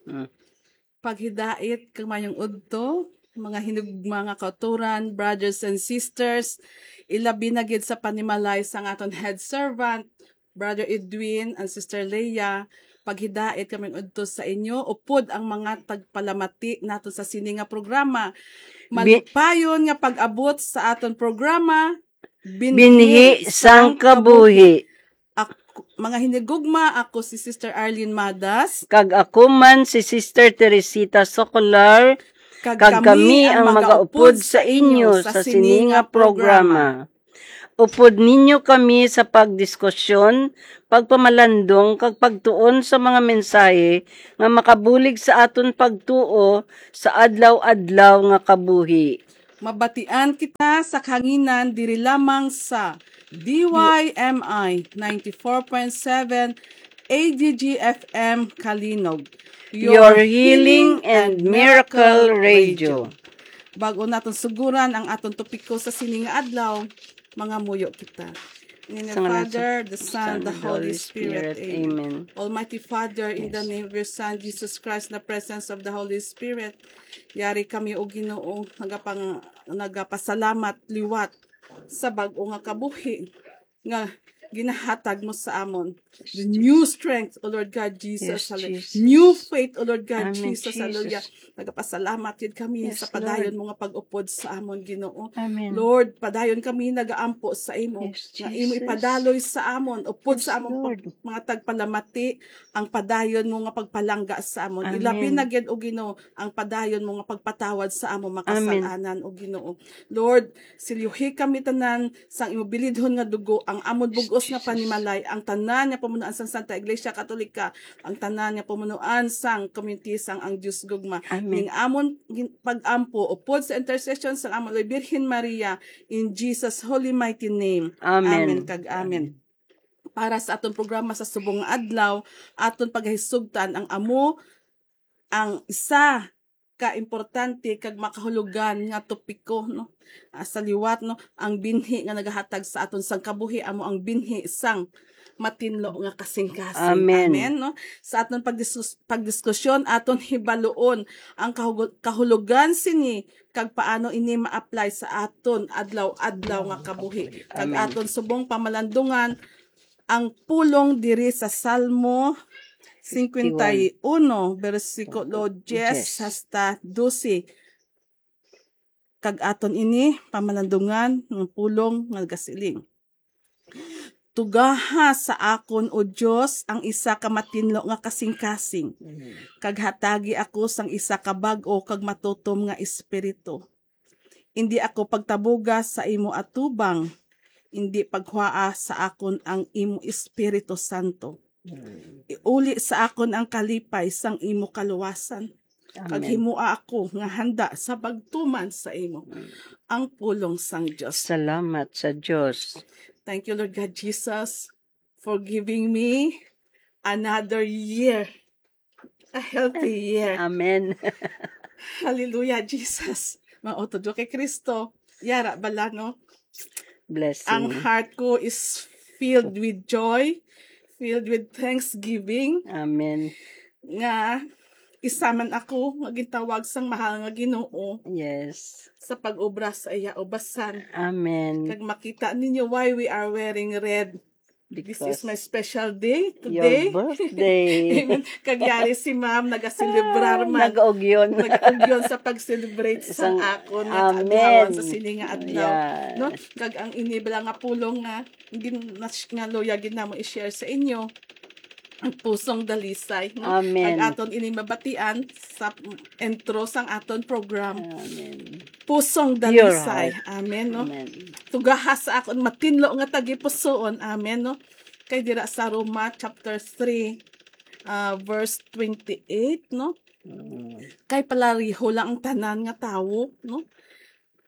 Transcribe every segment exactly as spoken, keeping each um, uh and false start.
Mm. Paghidait kag mayong udto, mga hinigugma nga kautoran, brothers and sisters, ilabi na gid sa panimalay sang aton head servant, Brother Edwin and Sister Leia, paghidait kami udto sa inyo, upod ang mga tagpalamati nato sa sini nga programa. Bi- Malipayon nga pag-abot sa aton programa, Binhi sang Kabuhi. Ak-, mga hinigugma, ako si Sister Arlene Madas. Kag ako man si Sister Teresita Socolar, kag kami ang magaupod sa inyo sa sini nga programa. Upod ninyo kami sa pagdiskusyon, pagpamalandong, kag pagtuon sa mga mensahe nga makabulig sa aton pagtuo sa adlaw-adlaw nga kabuhi. Mabatian kita sa kahanginan diri lamang sa D Y M I ninety-four point seven A D G F M Kalinog, your healing and miracle radio. Bago naton suguran ang aton topiko sa sini nga adlaw, mangamuyo kita. In the name of the Father, the Son, the Holy Spirit. Amen. Almighty Father, in the name of your Son, Jesus Christ, the presence of the Holy Spirit, yari kami, O Ginoo, nagapang-, nagapasalamat liwat sa bag-o nga kabuhi nga ginahatag mo sa amon. The new strength, O Lord God Jesus. Yes, Jesus. New faith, O Lord God Jesus. Amen, Jesus. Hallelujah. Nagapasalamat gid kami sa padayon mo nga pag-upod sa amon, Ginoo. Amen. Lord, padayon kami nagaampo sa imo, nga imo ipadaloy sa amon, upod sa amon pag-, mga tagpalamati, ang padayon mo nga pagpalangga sa amon. Ilabi na gid, O Ginoo, ang padayon mo nga pagpatawad sa amon makasalanan, O Ginoo. Lord, silyuhi kami tanan sang imo bilidhon nga dugo, ang amon bug-os nga panimalay, ang tanan nga pamunuan sang Santa Iglesia Katolika, ang tanan nga pamunuan sang community sang Ang Dios Gugma. Amen. Ning amon gin-, pag-ampo upod sa intercession sang amon Birhen Maria, in Jesus' holy mighty name. Amen. Amen kag amen. Para sa aton programa sa subong nga adlaw, aton pagahisugtan ang amo ang isa ka importante kag makahulugan nga topiko, no? Ah, sa liwat, no, ang binhi nga nagahatag sa aton sang kabuhi amo ang binhi sang matinlo nga kasingkasing. Amen. Amen, no? Sa aton pagdiskus-, pagdiskusyon, aton hibaluon ang kahugo-, kahulugan sini kag paano ini ma-apply sa aton adlaw-adlaw nga kabuhi. Kag aton subong pamalandungan ang pulong diri sa Salmo fifty-one, bersikulo diyes hasta dose. Kag aton ini pamalandungan ng pulong nga gasiling, "Tugaha sa akon, O Dios, ang isa ka matinlo nga kasingkasing, kag hatagi ako sang isa ka bag-o kag matutom nga espiritu. Indi ako pagtabuga sa imo atubang, indi paghwaa sa akon ang imo Espiritu Santo. Iuli sa akon ang kalipay sang imo kaluwasan, kag himoa ako nga handa sa pagtuman sa imo." Ang pulong sang Dios. Salamat sa Dios. Thank you, Lord God Jesus, for giving me another year. A healthy year. Amen. Hallelujah, Jesus. Mautod ko kay Kristo. Yara bala, no? Blessing. Ang heart ko is filled with joy, filled with thanksgiving. Amen. Nga isa man ako nga gintawag sang mahal nga Ginoo. Yes. Sa pag-obra sa iya ubasan. Amen. Kag makita ninyo why we are wearing red. This is my special day today. Your birthday. Amen. Kag yari si Ma'am nagaselebrar man. Nag-ugyon. Nag-ugyon sa pag-celebrate sa akon nga kaadlawan sa sini nga adlaw. Yeah. No? Kag ang ini bala nga pulong nga gin-, nas-, nga luya gid namo i-share sa inyo. Ang pusong dalisay, no? Amen. Kag aton ini mabatian sa intro sang aton program. Amen. Pusong dalisay. Amen, no? Amen. Tugaha sa akon matinlo nga tagipusoon. Amen, no? Kay dira sa Roma chapter three, ah, verse twenty-eight, no? Mm. Kay palariho lang ang tanan nga tawo, no?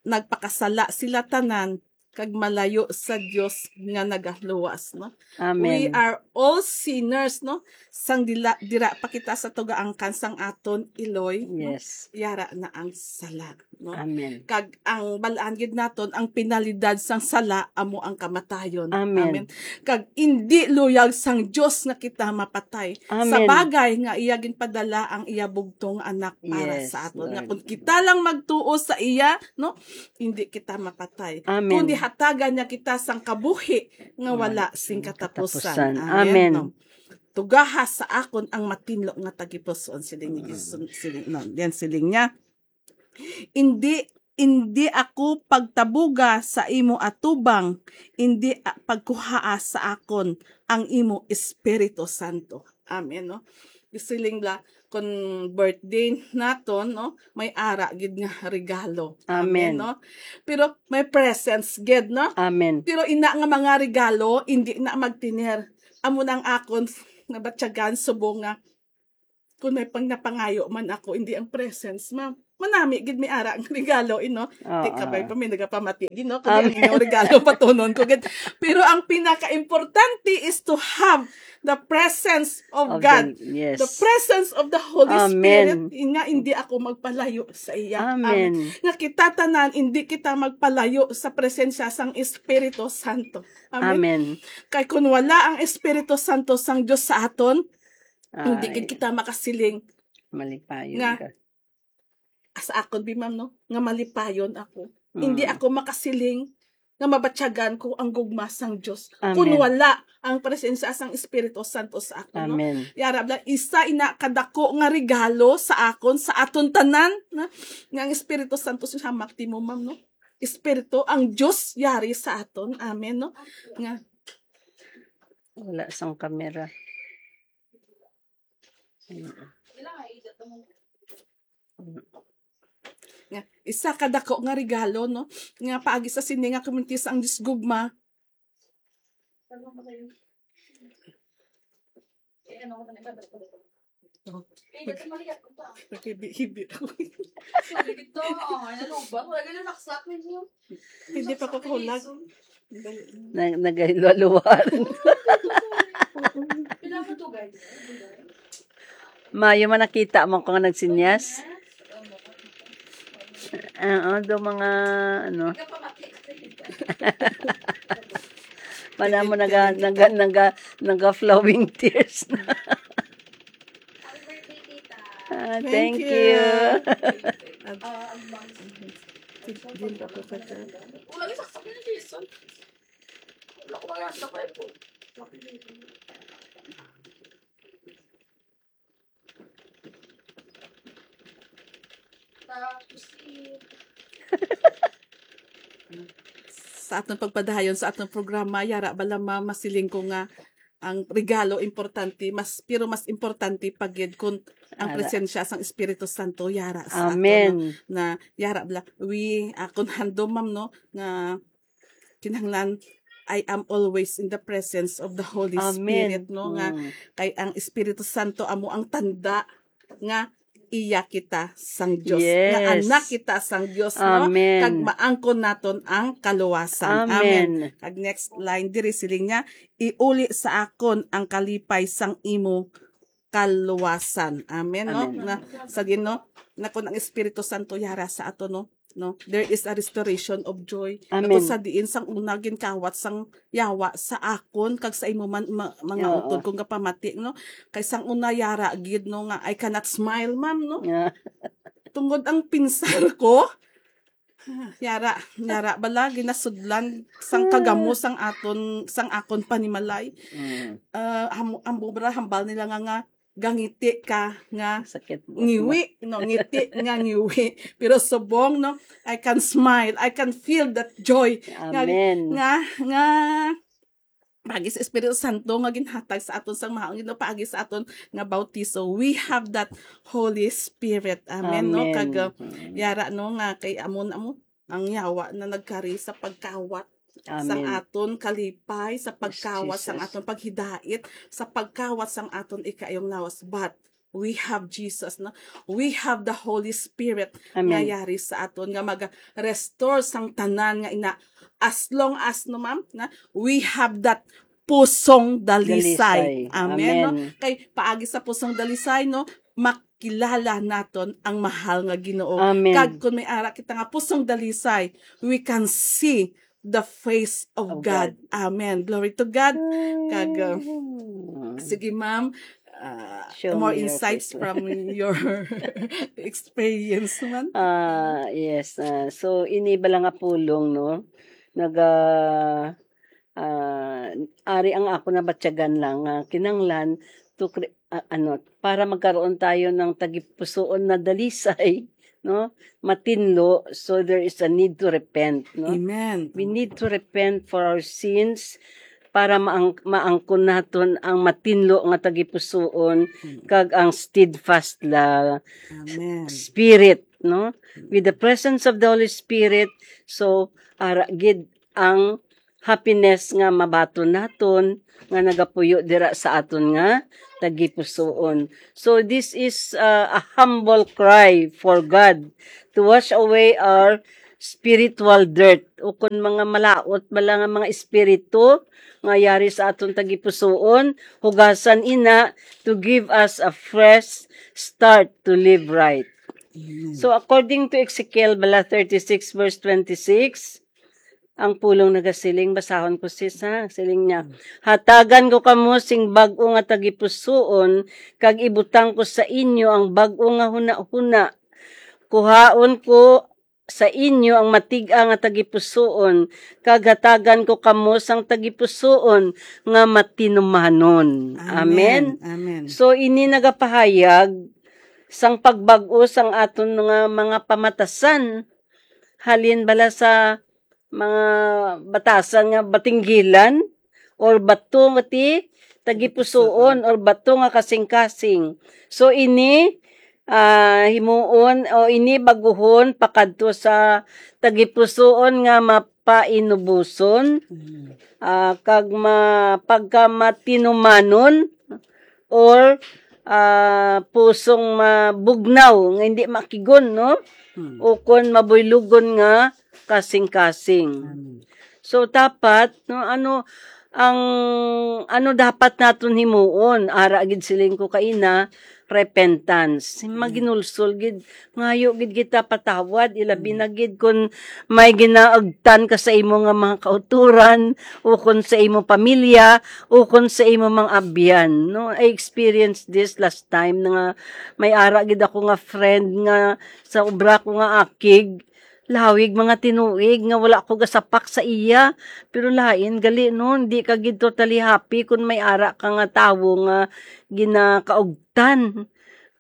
Nagpakasala sila tanan, kag malayo sa Dios nga nagaluwas, no? We Amen. are all sinners, no? Sang dila, dira pa kita sa tugaangkan sang aton iloy, no? Yes. Yara na ang sala, no? Amen. Kag ang balaan gid naton, ang penalidad sang sala amo ang kamatayon. Amen. Amen. Kag indi luyag sang Dios nga kita mapatay. Sa Amen. bagay nga iya ginpadala ang iya bugtong anak para Yes, sa aton. Nga Lord. kung kita lang magtuo sa iya, no? Hindi kita mapatay. Amen. Kundi hatagan niya kita sang kabuhi nga Wala wala sing sing katapusan. katapusan. Amen. Amen. No? Tugaha sa akon ang matinlo nga tagipusoon, siling ni Mm. Jesus, siling, no, yan siling niya. Indi, indi ako pagtabuga sa imo atubang, indi a-, pagkuhaa sa akon ang imo Espiritu Santo. Amen, no? Siling bala, kung birthday naton, no, may ara gid nga regalo. Amen, Amen. no? Pero may presents gid, no? Amen. Pero ina nga mga regalo, hindi na magtener. Amo nang akon nabatyagan subong nga kung may pang napangayo man ako, hindi ang presents, ma-, manami gid may ara ang regalo, ino. Oo. Di ka ba pa may nagapamati, di, no? Kung Amen. ang inyong regalo, patunon ko gid. Pero ang pinaka-importante is to have the presence of Of God. the, yes. The presence of the Holy Amen. Spirit, nga hindi ako magpalayo sa iya. Amen. Amen. Nga kita tanan, hindi kita magpalayo sa presensya sang Espiritu Santo. Amen. Amen. Kay kung wala ang Espiritu Santo sang Dios sa aton, hindi Ay. gid kita makasiling Malipayon nga ka. Sa akon, bi, ma'am, no, nga malipayon ako. Hindi Mm. ako makasiling nga mabatyagan ko ang gugma sang Dios. Kung Amen. wala ang presensya sang Espiritu Santo sa akon, no? Amen. Yara bala, isa ina kadako nga regalo sa akon, sa aton tanan, na, nga ang Espiritu Santo siya magtimo, ma'am, no? Espiritu, ang Dios yari sa aton. Amen, no? Nga Wala sang kamera. Nga, isa ka dako nga regalo, no? Nga paagi sa sini nga kumintis ang Dios gugma. Naghibi-hibi ako. Hindi pa ko kahulag. Nag-, nagahilwa-luwa. Kailangan to, guys. Mayo man nakita mo ko nga nagsinyas. Oo, do mga, ano. Wala mo naga, naga, naga, naga flowing tears na. Ah, thank Thank you. you. At, din pa po ka dyan. Wala, isaksak na ni Jason. Wala ko wala sa Bible. Tapos, eh, sa aton pagpadayon sa aton programa, yara bala, ma'am, masiling ko nga ang regalo importante, mas, pero mas importante pa gid kung ang Ara. presensya sang Espiritu Santo yara sa aton, Amen. no? Na yara bala, we, ah, kung handom, ma'am, no, nga kinahanglan, I am always in the presence of the Holy Amen. Spirit, no? Nga Mm. kay ang Espiritu Santo amo ang tanda nga iya kita sang Dios, nga Yes. anak kita sang Dios, no? Amen. Kag maangkon naton ang kaluwasan. Amen. Amen. Kag next line diri, siling niya, "Iuli sa akon ang kalipay sang imo kaluwasan." Amen, no? Amen. Na, sa din, no? Na kung ang Espiritu Santo yara sa ato, no? No? There is a restoration of joy. Na Amen. kung sa diin sang una ginkawat sang yawa sa akon kag sa imo man, ma-, mga Oo. utod kong kapamati, no? Kay sang una yara gid, no, nga I cannot smile, ma'am, no? Yeah. Tungod ang pinsar ko, yara, yara bala, ginasudlan sang kagamo sang aton, sang akon panimalay. Mm. Ah, ham-, ang bubra, hambal nila nga, nga gangiti ka nga Sakit mo. ngiwi, no, ngiti nga ngiwi. Pero subong, no, I can smile, I can feel that joy. Nga, Amen. nga, nga, paagi sa Espiritu Santo nga ginhatag sa aton sang mahaon, no, paagi sa aton nga bautiso, we have that Holy Spirit. Amen, no? Amen. Kag, uh, Mm. yara, no, nga kay amon, amo, ang yawa na nagkari sa pagkawat sa Amen. aton kalipay, sa Yes, pagkawat sa Jesus. aton paghidait, sa pagkawat sa aton ikaayong lawas. But We have Jesus, no? We have the Holy Spirit nga Amen. yari sa aton, nga maga-restore sang tanan nga ina. As long as, no, ma'am, na we have that pusong dalisay. Dalisay. Amen, no? Amen. Kay paagi sa pusong dalisay, no, makilala naton ang mahal nga Ginoo. Amen. Kag kung may ara kita nga pusong dalisay, we can see the face of Of God. God. Amen. Glory to God. Kag, uh, Mm. sige, ma'am. Uh, Show more me your insights face. from your experience man. Ah, yes. Ah, so, ini bala nga pulong, no? Naga, ah, ari ang ako nabatyagan lang nga kinanglan to cre-, ah, ano, para magkaroon tayo ng tagipusoon na dalisay, no? Matinlo, so there is a need to repent, no? Amen. We need to repent for our sins para maang-, maangkon naton ang matinlo nga tagipusoon Hmm. kag ang steadfast la Amen. Spirit, no? Hmm. With the presence of the Holy Spirit, so ara gid ang happiness nga mabaton naton nga nagapuyo dira sa aton nga tagipusoon. So this is, uh, a humble cry for God to wash away our spiritual dirt, o kon mga malaot bala nga mga espiritu nga yari sa aton tagipusoon, hugasan ina to give us a fresh start to live right. Amen. So, according to Ezekiel bala thirty-six verse twenty-six, ang pulong nagasiling, basahon ko, sis, ha? Siling niya, "Hatagan ko kamo sing bag-o nga tagipusoon, kag ibutang ko sa inyo ang bag-o nga hunahuna. Kuhaon ko sa inyo ang matig-a nga tagipusoon, kag hatagan ko kamo sang tagipusoon nga matinumanon." Amen. Amen. Amen. So, ini nagapahayag sang pagbag-o sang aton nga mga pamatasan. Halin bala sa mga batasan nga batinggilan, or bato nga ti tagipusoon, or bato nga kasing-kasing. So, ini, ah, himuon, o ini baguhon pakadto sa tagipusoon nga mapainuboson, Mm. ah, kag ma-, pagkamatinumanon, or, ah, pusong mabugnaw nga hindi makigon, no? Hmm. O kon mabuylugon nga kasing-kasing. Amen. So, dapat, no, ano, ang, ano dapat naton himuon? Ara gid siling ko kaina, repentance. Hmm. Maginulsol gid, ngayo gid kita patawad, ilabi Hmm. na gid kon may ginaagtan ka sa imo nga mga kauturan, o kon sa imo pamilya, o kon sa imo mga abyan, no? I experienced this last time na nga may ara gid ako nga friend nga sa obra ko nga akig, lawig mga tinuig nga wala ko gasapak sa iya. Pero lain gali, no, hindi ka gid totally happy kung may ara ka nga tawo nga ginakaugtan.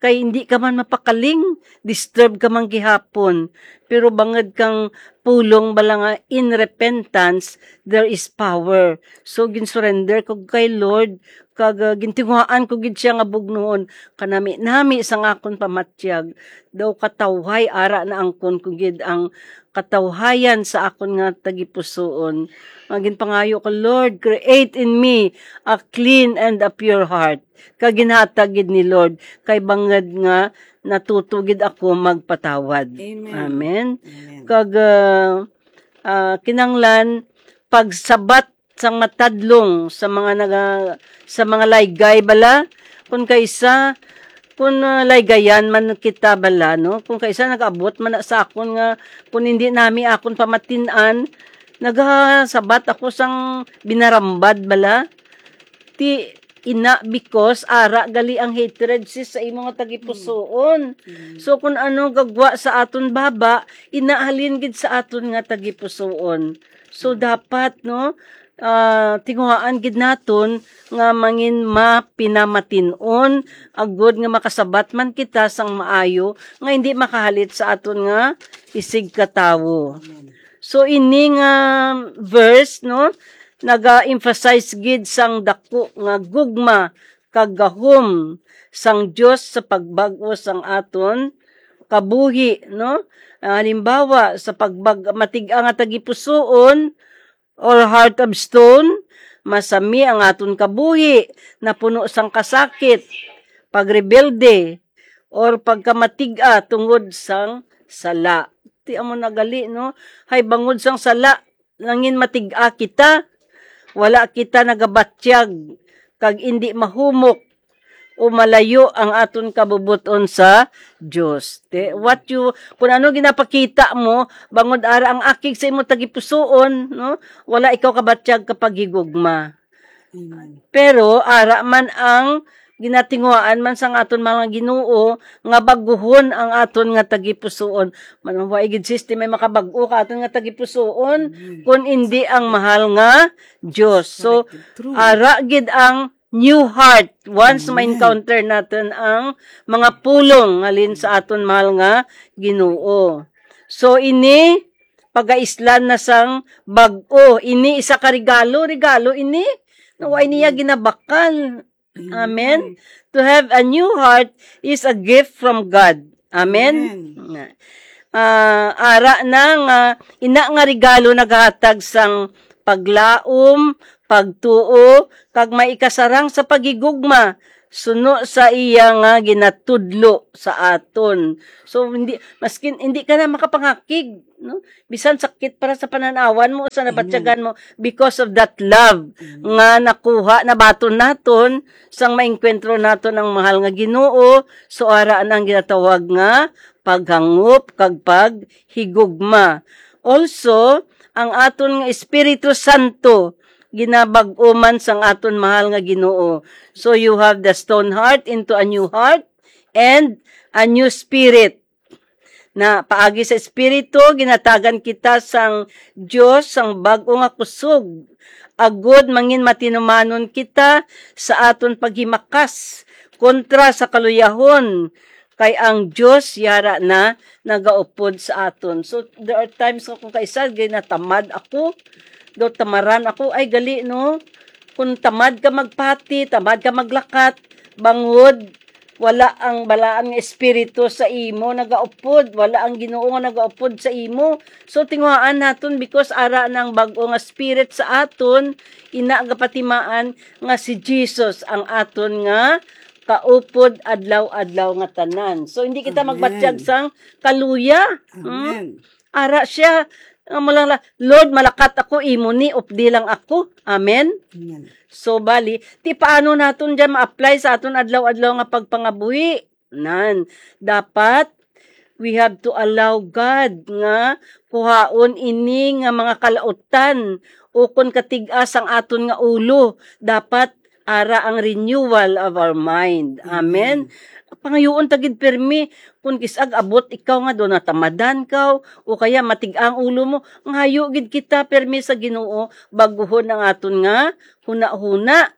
Kay hindi ka man mapakaling, disturb ka man gihapon. Pero bangod kang pulong bala nga in repentance, there is power. So, gin-surrender ko kay Lord, kag, ah, gintinguhaan ko gid siya nga bugnuon. Kanami-nami sang akon pamatyag, daw katawhay ara na angkon ko gid ang katawhayan sa akon nga tagipusoon. Nga ginpangayo ko, "Lord, create in me a clean and a pure heart." Kag ginhatag gid ni Lord, kay bangod nga natuto gid ako magpatawad. Amen. Amen. Amen. Kag, ah, ah, kinanglan pagsabat sang matadlong sa mga naga-, sa mga laygay bala, kun kaisa, kun, ah, laygayan man kita bala, no? Kun kaisa nag-abot man na sa akon nga, kun hindi nami akon pamatin-an, nagasabat ako sang binarambad bala. Ti ina, because ara gali ang hatred, sis, sa imo nga tagipusoon. Mm. So, kun ano gagwa sa aton baba, ina halin gid sa aton nga tagipusoon. So, Mm. dapat, no, ah, tinguhaan gid naton nga mangin mapinamatin-on, agod nga makasabat man kita sang maayo nga hindi makahalit sa aton nga isigkatawo. Amen. So, ini nga verse, no, naga-emphasize gid sang dako nga gugma kag gahom sang Dios sa pagbag-o sang aton kabuhi, no? Ah, halimbawa, sa pagbag-, matig-a nga tagipusoon, or heart of stone, masami ang aton kabuhi, napuno sang kasakit. pagrebelde, or pagkamatig-a tungod sang sala. Ti amo na gali, no? Hay bangod sang sala, nangin matig-a kita. Wala kita nagabatyag kag indi mahumok o malayo ang aton kabubot-on sa Dios. Te, what you, kung ano ginapakita mo, bangod ara ang akig sa imo tagipusoon, no? Wala ikaw kabatyag ka paghigugma. Amen. Pero ara man ang ginatinguhaan man sang aton mga Ginoo nga baguhon ang aton nga tagipusoon. Man, wa gid system may makabag-o ka aton nga tagipusoon, Amen. Kun indi ang mahal nga Dios. So, Correct. True. Ara gid ang new heart once Amen. Ma-encounter natin ang mga pulong halin sa aton mahal nga Ginoo. So, ini pagaislan na sang bag-o. Ini isa ka regalo, regalo ini. Na wa niya Amen. Ginabakal. Amen. Amen. To have a new heart is a gift from God. Amen. Amen. Ah, ara na nga ina nga regalo nagahatag sang paglaom, pagtuo, kag maikasarang sa paghigugma suno sa iya nga ginatudlo sa aton. So hindi maskin hindi ka na makapangakig, no? Bisan sakit para sa pananawan mo sa Amen. Nabatyagan mo because of that love Amen. Nga nakuha nabaton naton sang maengkwentro naton ang mahal nga Ginoo. So ara na ang ginatawag nga paghangop kag paghigugma. Also, ang aton nga Espiritu Santo ginabag-o man sang aton mahal nga Ginoo. So you have the stone heart into a new heart and a new spirit. Na paagi sa Espiritu, ginatagan kita sang Dios sang bag-o nga kusog, agod mangin matinumanon kita sa aton paghimakas kontra sa kaluyahon, kay ang Dios yara na nagaupod sa aton. So, there are times nga kung kaisa, ginatamad ako, daw tamaran ako, ay gali, no? Kung tamad ka magpati, tamad ka maglakat, bangod wala ang balaan nga espiritu sa imo nagaupod, wala ang Ginoo nga nagaupod sa imo. So, tinguhaan naton, because ara na ang bag-o nga spirit sa aton, ina gapatimaan nga si Jesus ang aton nga kaupod adlaw-adlaw nga tanan. So, hindi kita Amen. Magbatyag sang kaluya. Hmm? Amen. Ara siya, amo lang la, "Lord, malakat ako, imo ni, updi lang ako." Amen? Amen. So, bali, ti paano naton dyan ma-apply sa aton adlaw-adlaw nga pagpangabuhi? Nan, dapat we have to allow God nga kuhaon ini nga mga kalautan ukon katig-a sang aton nga ulo. Dapat ara ang renewal of our mind. Amen? Amen. Pangayuon ta gid pirmi, kung kis-ag abot ikaw nga do natamadan ka, o kaya matig-ang ulo mo, ngayo gid kita pirmi sa Ginoo, baguhon ang aton nga hunahuna,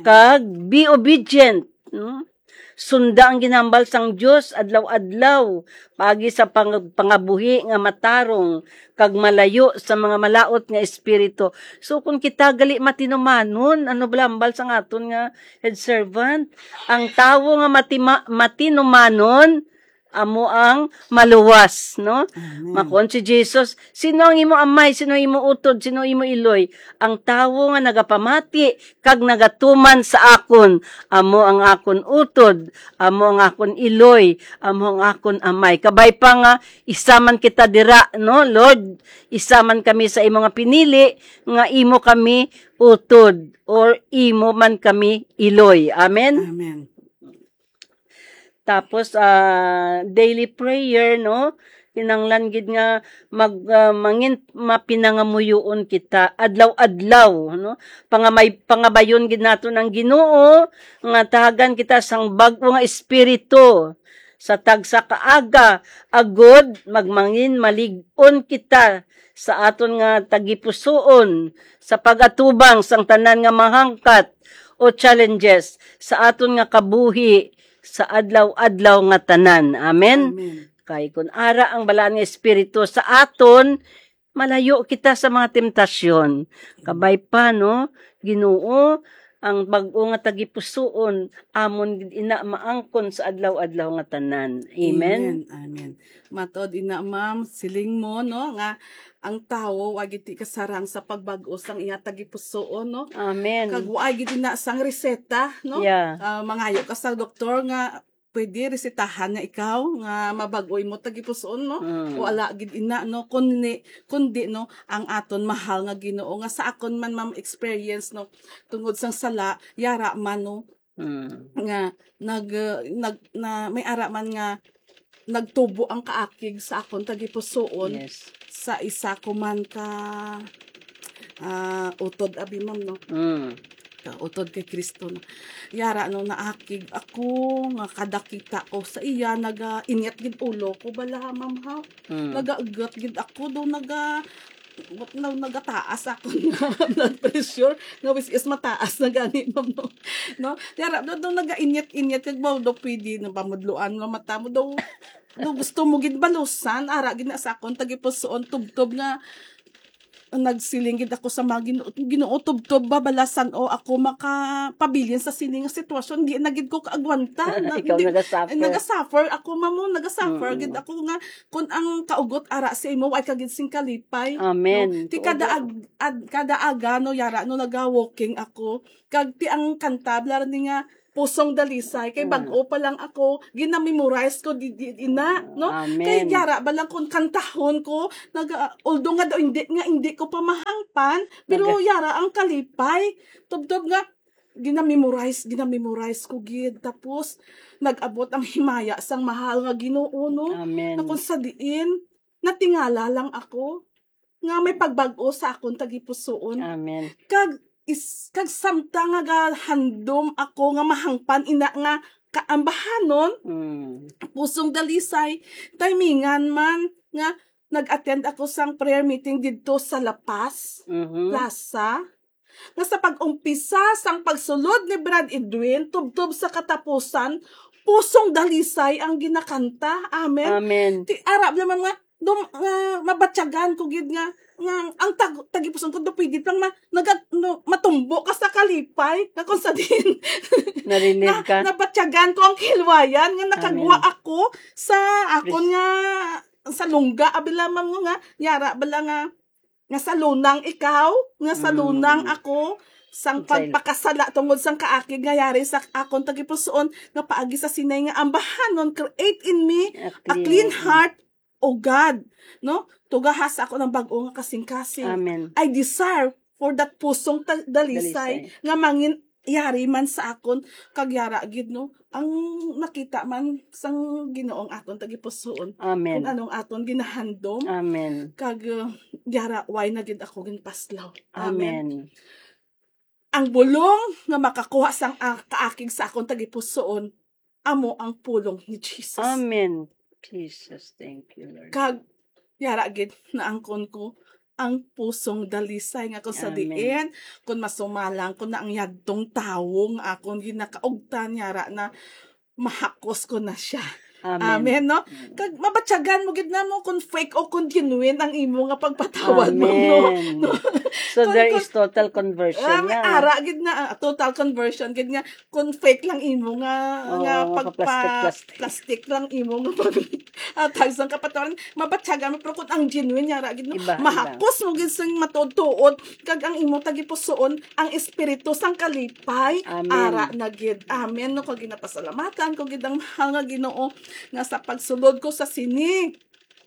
kag be obedient, no? Sunda ang ginhambal sang Dios adlaw-adlaw, paagi sa pang-, pangabuhi nga matarong, kag malayo sa mga malaut nga espiritu. So, kung kita gali matinumanon, ano ba hambal sang aton nga head servant? Ang tawo nga matima-, matinumanon, amo ang maluwas, no? Amen. Makon si Jesus, "Sino ang imo amay? Sino imo utod? Sino imo iloy? Ang tawo nga nagapamati kag nagatuman sa akon, amo ang akon utod, amo ang akon iloy, amo ang akon amay." Kabay pa nga, isa man kita dira, no? "Lord, isa man kami sa imo nga pinili, nga imo kami utod, or imo man kami iloy." Amen? Amen. Tapos, ah, daily prayer, no? Kinahanglan gid nga mag-, ah, mangin-, mapinangamuyoon kita adlaw-adlaw, no? Pangamay-, pangabayon gid naton ang Ginoo nga tahagan kita sang bag-o nga espiritu sa tagsa ka aga, agod magmangin malig-on kita sa aton nga tagipusoon sa pag-atubang sang tanan nga mga hangkat o challenges sa aton nga kabuhi sa adlaw-adlaw nga tanan. Amen? Amen. Kay kun ara ang Balaan nga Espiritu sa aton, malayo kita sa mga temptasyon. Kabay pa, no? Ginoo, ang bag-o nga tagipusoon, amon gid ina maangkon sa adlaw-adlaw nga tanan. Amen. Amen. Amen. Matod ina, ma'am, siling mo, no, nga ang tawo wa gid ti kasarang sa pagbag-o sang iya tagipusoon, no? Amen. Kag wa gid ina sang reseta, no? Yeah. Ah, mangayo ka sa doktor nga pwede resetahan nga ikaw nga mabag-o imo tagipusoon, no? Mm. O ala gid ina, no? Kundi, kundi, no, ang aton mahal nga Ginoo nga sa akon man, ma'am, experience, no, tungod sang sala, yara man, no, Mm. nga nag, uh, nag, na, may ara man nga nagtubo ang kaakig sa akon tagipusoon. Yes. Sa isa ko man ka, ah, utod, abi, ma'am, no? Mm. Ka utod kay Kristo, no? Yara, no, naakig ako nga kada kita ko sa iya, naga-inyat gid ulo ko bala, ma'am, ha? Mm. Nagaugat gid ako, do naga, what, na, nagataas ako nga blood pressure, nga which is mataas na gani, ma'am, no? No? Yara, do, do naga-inyat-inyat, kag mo, do pwede na pamudloan nga mata mo, do, do gusto mo gid balusan, ara gid na sa akon tagipusoon, tubtob nga nagsiling gid ako sa mga Ginoo, Ginoo, tubtob ba balasan o ako makapabilin sa sini nga sitwasyon? Di na gid ko kaagwanta. Na, Ikaw di, nagasuffer. Nagasuffer ako, mamo, nagasuffer Mm. gid ako nga kun ang kaugot ara sa imo, way ka gid sing kalipay. Amen. No? Ti Oo. kada ag-, ad-, kada aga, no, yara, no, naga-walking ako. Kag ti ang kanta, bala ni nga, Pusong Dalisay, kay Mm. bag-o pa lang ako, gina-memorize ko di, di, ina, no? Amen. Kay yara ba lang kung kantahon ko, naga, although nga daw hindi, nga hindi ko pa mahangpan, pero Naga- yara ang kalipay. Tubtob nga, gina-memorize, gina-memorize ko gid. Tapos, nag-abot ang himaya sang mahal nga Ginoo, no? Amen. Na kung sa diin, natingala lang ako nga may pagbag-o sa akon tagipusoon. Amen. Kag is, kag samtang nga gahandom ako nga mahangpan ina nga kaambahanon, Mm. Pusong Dalisay, timingan man nga nag-attend ako sang prayer meeting didto sa La Paz Mhm. Plaza, nga sa pag-umpisa sang pagsulod ni Brad Edwin tubtob sa katapusan, Pusong Dalisay ang ginakanta. Amen. Amen. Ti, ara naman nga, dum-, nga mabatyagan ko gid nga, nga ang tag-, tagipusoon ko, do pwede lang ma-, naga-, no, matumbo ka sa kalipay, nga kung sa din. Narinig Na-, ka? nabatyagan ko ang kilwayan, nga nakagwa Amen. ako sa akon Pres- nga, sa lungga, abi lamang nga, yara bala nga, nga sa lunang ikaw, nga sa Mm. lunang ako, sang Utsay. pagpakasala tungod sang kaakig nga yari sa akon tagipusoon, nga paagi sa sinay nga ambahanon, create in me A a clean clean heart. heart, O God, no? Tugaha sa akon ang bag-o nga kasing-kasing. Amen. I desire for that pusong ta-, dalisay Dalisay. nga mangin yari man sa akon, kag yara gid, no? Ang nakita man sang Ginoo ang aton tagipusoon, Amen. kung anong aton ginahandom, Amen. kag, uh, yara, why na gid ako ginpaslaw? Amen. Amen. Ang bulong nga makakuha sang, ah, kaakig sa akon tagipusoon, amo ang pulong ni Jesus. Amen. Jesus, thank you, Lord. Kag, yara gid, naangkon ko ang pusong dalisay nga kung sa Amen. diin, kung masumalang ko na ang yadtong tawo nga akon ginakaugtan, yara na mahakos ko na siya. Amen. Amen, no? Mm. Kag mabatyagan mo gid na mo kung fake o kung genuine ang imo nga pagpatawad mo, no? Amen. No? So, Kung, there kung, is total conversion ah, may na. ara gid na, ah, total conversion gid nga kung fake lang imo nga, Oo, nga pagpa-, plastic, plastic. plastic lang imo nga pag-, ah, tag sang kapatawaran, mabatyagan mo, pero kung ang genuine, yara gid, no? Iba, iba. Mahakos mo gid sing matuod-tuod, kag ang imo tagipusoon, ang espiritu sang kalipay, Amen. ara na gid. Amen, no? Kag ginapasalamatan ko gid ang mahal nga Ginoo, nga sa pagsulod ko sa sini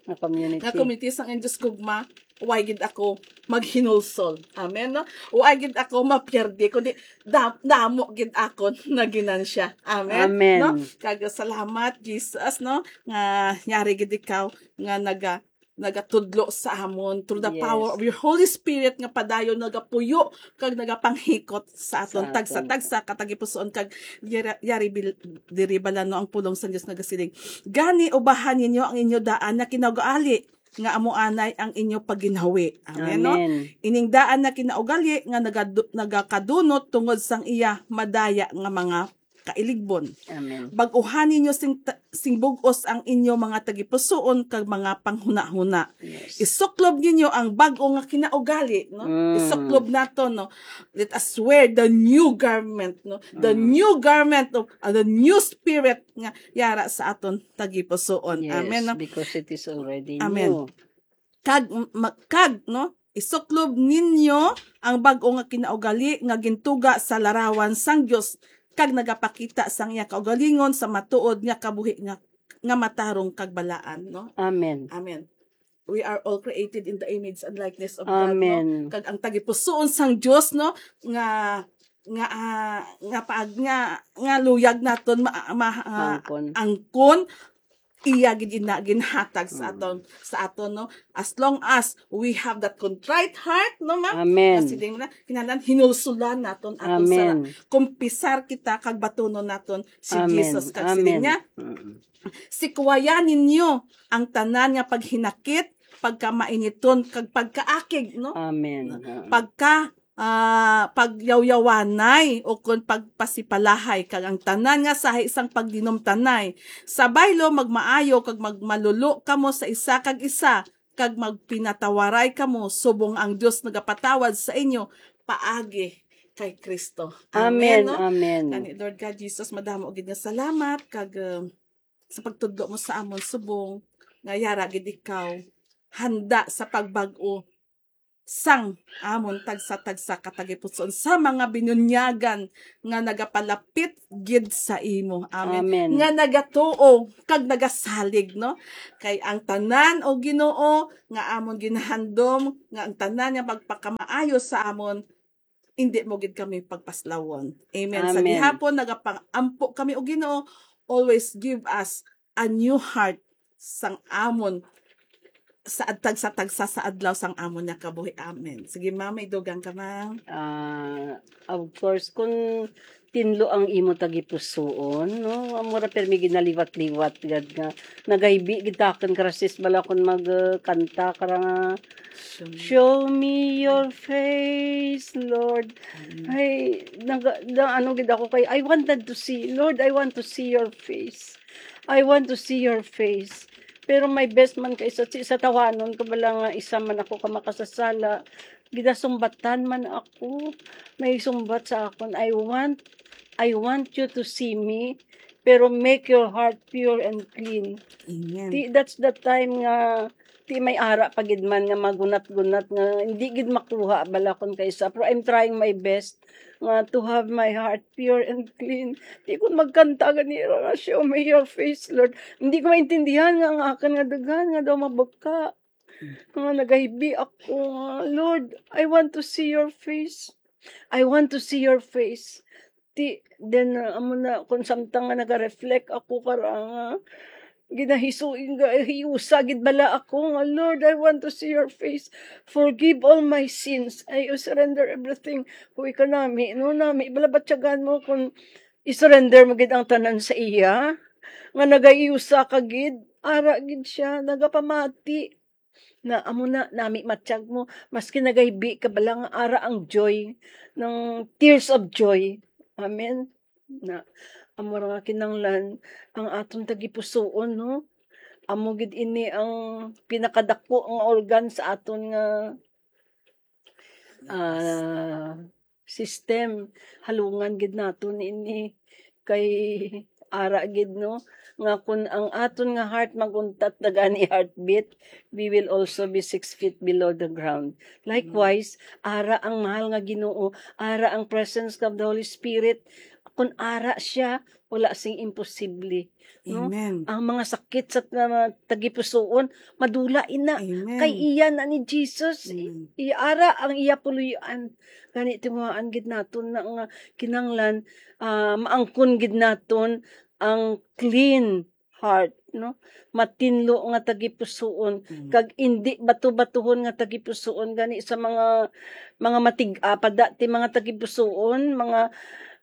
Nga community. nga community sang Indios Gugma, way gid ako maghinulsol. Amen, no? Way gid ako mapierde, kundi da-, damo gid akon naginansya. Amen, Amen. no? Kag salamat, Jesus, no? Nga yari gid ikaw nga naga-, nagatudlo sa amon through the Yes. power of your Holy Spirit nga padayon nagapuyo kag nagapanghikot sa aton Sa aton. tagsa-tagsa ka tagipusoon kag yara-, yari bil-, diri bala, no, ang pulong sa Dios nagasiling, "Gani, ubahan ninyo ang inyo daan nga kinaugali, nga amo anay ang inyo pagginhawi." Amen, no? Amen. Ining daan nga kinaugali nga nagadu-, nagakadunot tungod sang iya madaya nga mga kailigbon. Amen. Bag-uhan ninyo sing, ta- sing bug-os ang inyo mga tagipusoon kag mga panghunahuna. Yes. Isuklob ninyo ang bag-o nga kinaugali, no? Mm. Isuklob nato, no? Let us wear the new garment, no? The Mm. new garment of uh, the new spirit nga yara sa aton tagipusoon. Yes, Amen. No? Because it is already Amen. new. Kag ma- kag no, isuklob ninyo ang bag-o nga kinaugali nga gintuga sa larawan sang Dios kag nagapakita sang iya kaugalingon sa matuod nga kabuhi nga nga matarong kag balaan, no? Amen. Amen. We are all created in the image and likeness of God, no? Amen. Kag ang tagipusoon sang Dios, no, nga nga ah, nga pag nga nga luyag naton ma, ma, ah, Angkon. angkon iya gid ina ginhatag sa Mm. aton sa aton, no, as long as we have that contrite heart, no, ma'am? Amen. Kasi din na kinahanglan hinulsulan naton aton sa Amen. kumpisar kita kag batunon naton si Amen. Jesus kag siling Amen. niya, Mm. Sikuwayan ninyo ang tanan nga paghinakit, pagkamainiton kag pagkaakig, no? Amen. Pagka ah, pagyawyawanay o kon pagpasipalahay kag ang tanan nga sahi sang pagdinumtanay. Sa baylo magmaayo kag magmalulo kamo sa isa kag isa kag magpinatawaray kamo subong ang Dios nagapatawad sa inyo paagi kay Kristo. Amen. No? Amen. Gani, Lord God Jesus, madamo gid nga salamat kag uh, sa pagtudlo mo sa amon subong nga yara gid ikaw handa sa pagbag-o sang amon tagsa-tagsa ka tagipusoon sa mga binunyagan nga nagapalapit gid sa imo. Amen. Amen. Nga nagatuo kag nagasalig, no? Kay ang tanan, o Ginoo, nga amon ginahandom, nga ang tanan nga magpakamaayo sa amon, hindi mo gid kami pagpaslawon. Amen. Sa Amen. gihapon nagapangampo kami, o Ginoo, always give us a new heart sang amon sa tagsa-tagsa sa adlaw sang amon nga kabuhi. Amen. Sige, ma'am, may dugang ka, ma'am. Ah, of course, kung tinlo ang imo tagipusoon, no? Amo ra permi ginaliwat-liwat gad nga nagaybi gid takon karasis bala kon mag uh, kanta kara nga Show me your face, Lord. Amen. Ay, nag, na, ano gid ako kay I wanted to see, Lord, I want to see your face. I want to see your face. Pero my best man kay sa, sa tawanon ko bala nga isa man ako ka makasasala. Gidasumbatan man ako. May sumbat sa akon, I want I want you to see me, pero make your heart pure and clean. Amen. Ti, that's the time nga ti may ara pa gid man nga magunat-gunat nga hindi gid makuha bala kon kaysa. Pero I'm trying my best nga to have my heart pure and clean. Ti kon magkanta gani ra nga, "Show me your face, Lord." Hindi ko maintindihan nga ang akin nga daghan nga daw mabuka. Nga nagahibi ako nga, "Lord, I want to see your face. I want to see your face." Ti, then, uh, amo na, kung samtang nga nag-reflect ako kara nga, ginahisu-, gahiusa gid bala ako nga, "Lord, I want to see your face. Forgive all my sins. I surrender everything." Huy ka nami, no, nami, bala batyagan mo kung i-surrender mo gid ang tanan sa iya, nga nagahiusa ka gid, ara gid siya, nagapamati. Na amo na, nami matyag mo, maski nagaybi ka bala nga ara ang joy, ng tears of joy. Amen. Na amo ra nga kinanglan ang aton tagipusoon, no? Amo gid ini ang pinakadako nga organ sa aton nga ah, system. Halungan gid naton ini kay ara gid, no, nga kun ang aton nga heart maguntat na gani heartbeat, we will also be six feet below the ground. Likewise, ara ang mahal nga Ginoo, ara ang presence of the Holy Spirit. Kun ara siya, wala sing imposible, no? Amen. Ang mga sakit sa mga tagipusoon, madula ina. Amen. Kay iya na ni Jesus, Amen. iara ang iya puloy-an. Gani, tinguhaan gid naton na nga kinanglan, ah, maangkon gid naton ang clean heart, no? Matinlo nga tagipusoon, Mm. kag indi bato-batuhon nga tagipusoon gani sa mga, mga matig-a pa dati mga tagipusoon, mga,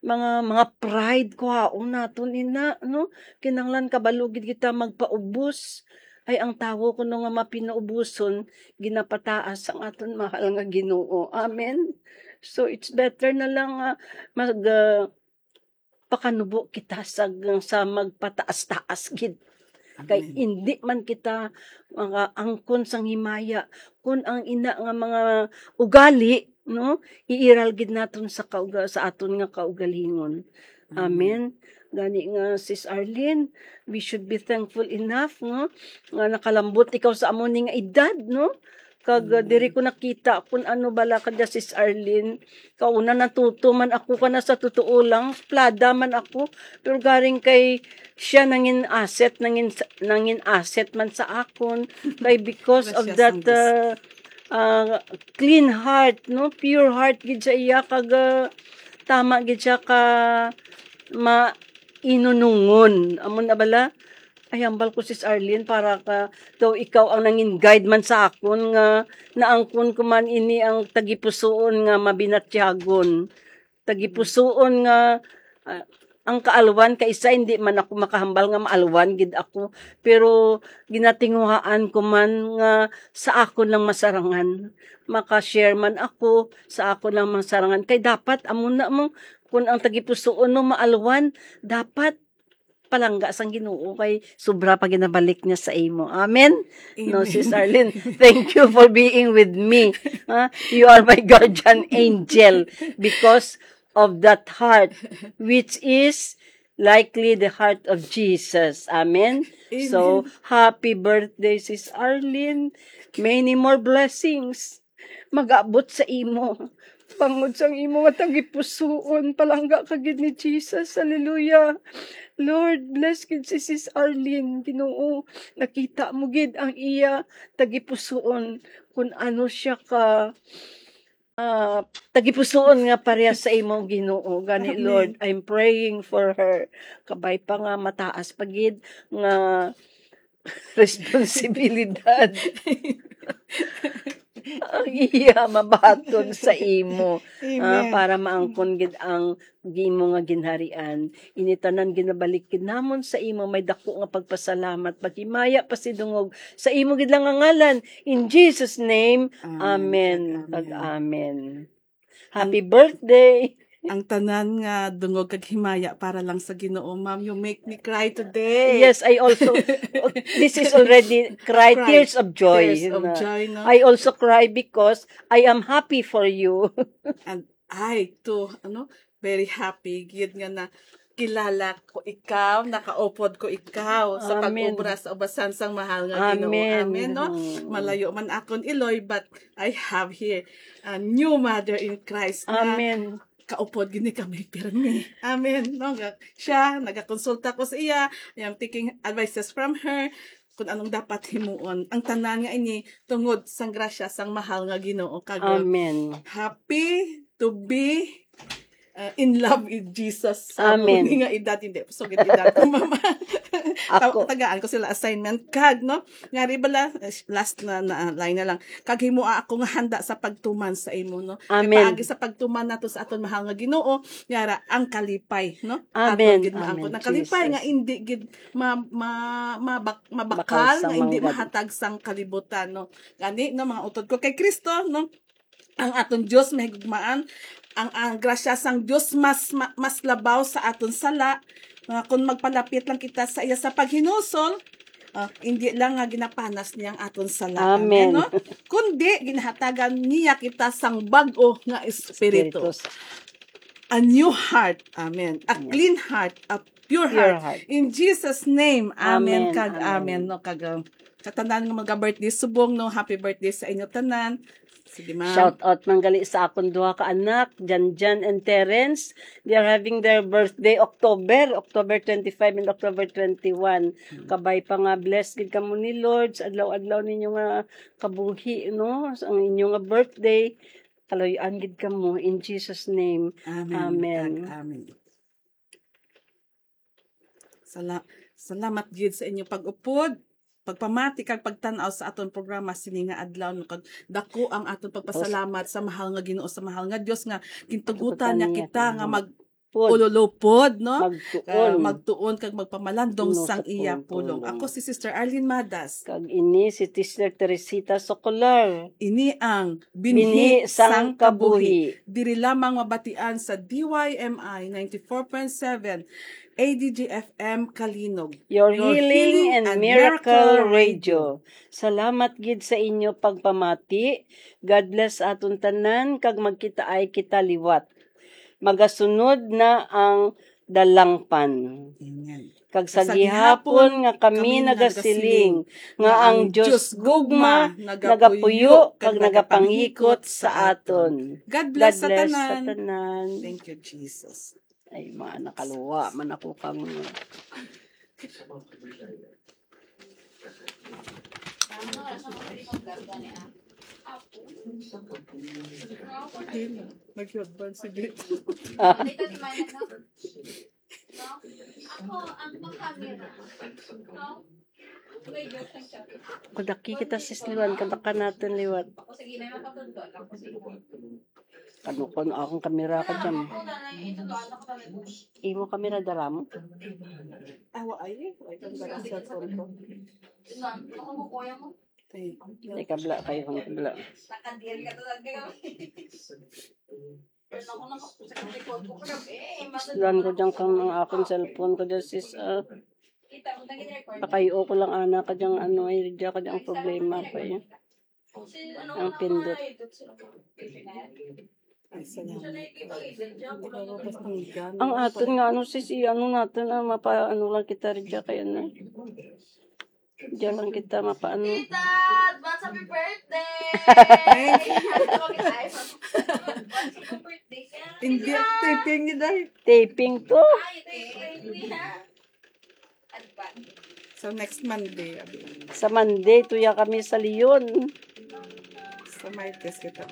mga, mga pride, kuhaon naton ina, no? Kinanglan kabalo gid kita magpaubos. Ay, ang tawo kuno nga mapinaubuson, ginapataas ang aton mahal nga Ginoo. Amen. So, it's better na lang nga mag, ah, pakanubo kita sa, sa magpataas-taas gid. Kay Amen. Hindi man kita makaangkon sang himaya kun ang ina nga mga ugali, no, iiral gid naton sa kauga-, sa aton nga kaugalingon. Amen. Amen. Gani nga, Sis Arlene, we should be thankful enough, no, nga nakalambot ikaw sa amo ni nga edad, no? Kag, uh, Mm. diri ko nakita kung ano bala ka dya, Sis Arlene. Kauna, natuto man ako kana, sa totoo lang, plada man ako. Pero garing kay siya nangin asset, nangin, nangin asset man sa akon. Kay because of Gracias that, ang Diyos. Uh, uh, clean heart, no? Pure heart gid sa iya, kag, uh, tama gid siya ka mainunungon. Amo na bala? Ay, hambal ko, Sis Arlene, para ka, daw ikaw ang nangin guide man sa akon, nga naangkon ko man ini ang tagipusoon nga mabinatyagon. Tagipusoon nga, ah, ang kaalwan kay isa, hindi man ako makahambal nga maalwan gid ako, pero ginatinguhaan ko man nga sa akon lang masarangan. Maka-share man ako, sa akon lang masarangan. Kay dapat, amo na mo, kung ang tagipusoon mo maalwan, dapat palangga sang Ginoo, kay sobra pa ginabalik niya sa imo. Amen? No, Amen. Sis Arlene, thank you for being with me. Ha? You are my guardian angel because of that heart, which is likely the heart of Jesus. Amen? Amen. So, happy birthday, Sis Arlene. Many more blessings mag-abot sa imo. Bangod sang imo nga tagipusoon, palangga ka gid ni Jesus. Hallelujah. Lord, bless gid si Sis Arlene, Ginoo. Nakita mo gid ang iya tagipusoon, kung ano siya ka, ah, tagipusoon nga pareha sa imo, Ginoo. Gani, Amen. Lord, I'm praying for her. Kabay pa nga mataas pa gid nga responsibilidad ang iya mabaton sa imo, ah, Amen. Para maangkon gid ang imo nga ginharian. Ini tanan ginabalik gid namon sa imo, may dako nga pagpasalamat. Paghimaya pa si dungog sa imo gid lang nga ngalan. In Jesus' name, Amen. Amen. Kag Amen. Kag amen. Happy birthday. Ang tanan nga dungog kag himaya para lang sa Ginoo, ma'am. You make me cry today. Yes, I also, this is already cry, Cry. Tears of joy, Tears of na joy, no? I also cry because I am happy for you. And I too, ano, very happy gid nga na kilala ko ikaw, nakaupod ko ikaw sa Amen. Pag-obra sa ubasan sang mahal nga Ginoo. Amen. Amen, no? Mm. Malayo man akon iloy, but I have here a new mother in Christ na Amen. Kaupod gid ni kami pirmi. Amen. No, ga-, siya, nagakonsulta ko sa iya. I am taking advices from her kung anong dapat himuon. Ang tanan nga ini tungod sang grasya sang mahal nga Ginoo. Kag, Amen. Happy to be, uh, in love with Jesus. Sa Amen. Amo ni nga edad, hindi. So, gid edad ko, mama. Ako. Ta-, tagaan ko sila assignment. Kag, no? Ngari bala, eh, last na, na line na lang. Kag himoa ako nga handa sa pagtuman sa imo, no? Amen. Kay paagi sa pagtuman nato sa aton mahal nga Ginoo, yara ang kalipay, no? Amen. Aton gid maangkon. Amen, ang kalipay Jesus. Nga hindi gid ma-, ma-, mabak-, mabakal, Bakal sa nga hindi manggad. Mahatag sang kalibutan, no? Gani, no, mga utod ko kay Kristo, no? Ang aton Dios mahigugmaan, ang, ang grasya sang Dios mas, ma-, mas labaw sa aton sala, nga kung magpalapit lang kita sa iya sa paghinulsol, ah, hindi lang nga ginapanas niya ang aton sala. Amen. Amen, no? Kundi ginahatagan niya kita sang bag-o nga espiritu. Espiritu. A new heart. Amen. A Yes. Clean heart, a pure Pure heart. Heart. In Jesus' name, amen. Amen, kag amen. Amen, no? Kag, uh, sa tanan nga mga birthday subong, no? Happy birthday sa inyo tanan. Sige, ma'am. Shout out man gali sa akon duha ka anak, Janjan and Terence. They are having their birthday October, October twenty-five and October twenty-one. Hmm. Kabay pa nga blessed gid kamo ni Lord sa adlaw-adlaw ninyo nga kabuhi, no? Sa ang inyo nga birthday, kaluy-an gid kamo in Jesus' name. Amen. Amen. Ag-, amen. Sala-, salamat gid sa inyong pag-upod, pagpamati, kag pagtan-aw sa aton programa sini nga adlaw, no, kag dako ang aton pagpasalamat sa mahal nga Ginoo, sa mahal nga Dios nga gintugutan niya kita nga mag-, pod. Ululupod, no? Magtuon. Ah, magtuon kag magpamalandong Puno sang sa iya pulong. Pulong. Ako si Sister Arlene Madas. Kag ini si Sister Teresita Socolar. Ini ang Binhi Binhi sang sang Kabuhi. Kabuhi. Diri lamang mabatian sa D Y M I ninety-four point seven A D G F M Kalinog. Your Your healing healing and and miracle miracle radio. Radio. Salamat gid sa inyo pagpamati. God bless aton tanan, kag magkitaay kita liwat. Magasunod na ang dalangpan. Amen. Kag sa Sa gihapon gihapon nga kami kami nagasiling nagasiling nga nga ang ang Diyos Diyos gugma gugma nagapuyo nagapuyo kag kag nagapanghikot nagapanghikot sa sa aton. aton. God God bless sa bless sa tanan. tanan. Thank you, Jesus. Ay, mga nakaluwa man ako kang Ayun, nag-headband si Beth. Ah. Ako ang makamera. No? Kadaki kita, sis, liwan. Kadaka natin liwat. Kanukon akong kamera ka dyan. Imo kamera, dara mo? Awa, ay, ay, ay, ay, ay, cellphone ko. Ay, kabla kayo, ang kabla. Islan ko dyan kang ang akong cellphone ko dyan, sis, ah. Pakayo ko lang, ana, ka dyan, ano, ay, dyan ka dyan problema pa, eh. Ang pindot. Ay, salamat. Ang aton nga, ano, sis, i-, ano natin, ah, mapa-, ano lang kita, rin dyan, kaya na. Diyan lang kita mapaano. Tita, advance happy birthday! Thank you. Advance happy birthday ka. Hindi, Tita. Taping ni Day. Taping to. Ay, taping niya. Advance. So, next Monday, abi. Sa Monday, tuya kami sa Leon. Sa Martes kita.